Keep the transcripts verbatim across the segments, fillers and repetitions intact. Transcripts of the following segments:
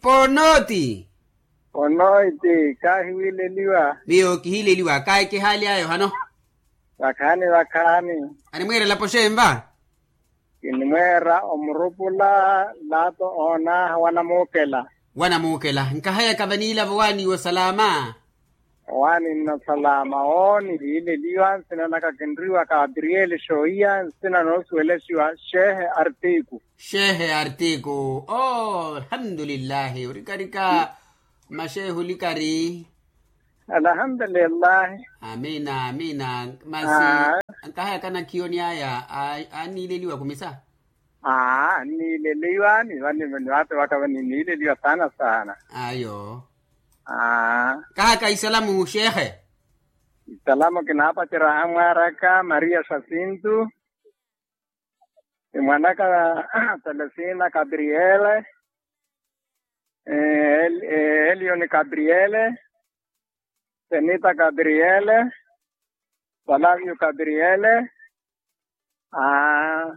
Onooti. Onoiti, kaahiwiileliwa. Miyo kihiileliwa kaayi kihaaly'aya ohano. Vakhaani vakhaani. Animwiira elapo xenva? Kinimweera omurupula laato oonaaha wanamuukela. Wanamuukela nkahayaka vaniilavo waaniiwo salaama. Waaninna salaama ooni hiileliwa nsina naka kinriwa kabriyeli xoohiya nsina noosuwelexiwa xeehe artiku. Xeehe artiku. Oo alhamdulillahi orikarika. Maxeehe olikari. Alhamdulillahi. Amina amina. Masi nkahayaka nakhiyoni aya anniileliwa kumisa. Aa anniileliwa ni vani vani vate vaka vani niileliwa saana saana. Ayo. Aa. Kahaka isalamu xeehe. Isalamu kinaapacerya amwaaraka maria xasintu. Imwanaka telesina gabriele. Elioni gabriele. Senita gabriele. Salavio gabriele. Aa.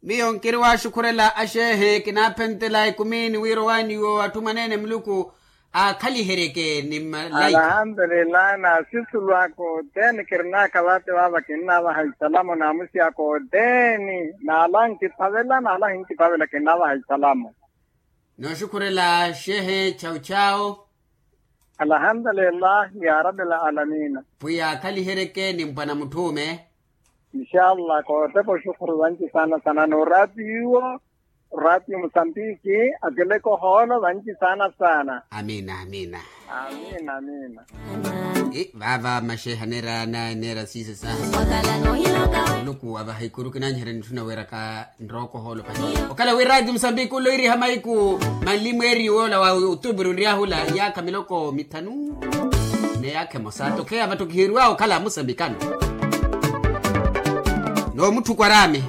Miyo nkiri waaxukhurela axeehe kinaaphentela ekumini wira owaaniwo atthu mwaneene muluku aakhaliheryeke ni mmalaika. Alhamdulilahi naasisulu aka othene kirinaka vate vava kinnaavaha isalamu naamusi aka othene. Naala nkiphavela naala hinkiphavela kinnaavaha isalamu. Nooxukhurela xeehe chau chau. Alhamdulilahi ya rabi alamina. Pwiya aakhaliheryeke ni mpwana mutthuume. Inshallah kootepa oxukhuru vanci saana saana n'oraatiyo. Oraatiyo musambiki akileke ohoolo vanci saana saana. Amina amina. Amina amina. Vava maxeeha neera siiso saha. Muluku avaha ikuru kinanyiherya nitthuna weeraka nrooko ohoolo pahi. Okhala wi raatiyo musambiki ola oiriha maiku manli mweeri woola wa otuburu nryahu ola iyaakha miloko mithanu. N'iyaakha emosa tokheya vatthu kihiriw'awe okhala musambikano. N'omutthu kwaraami.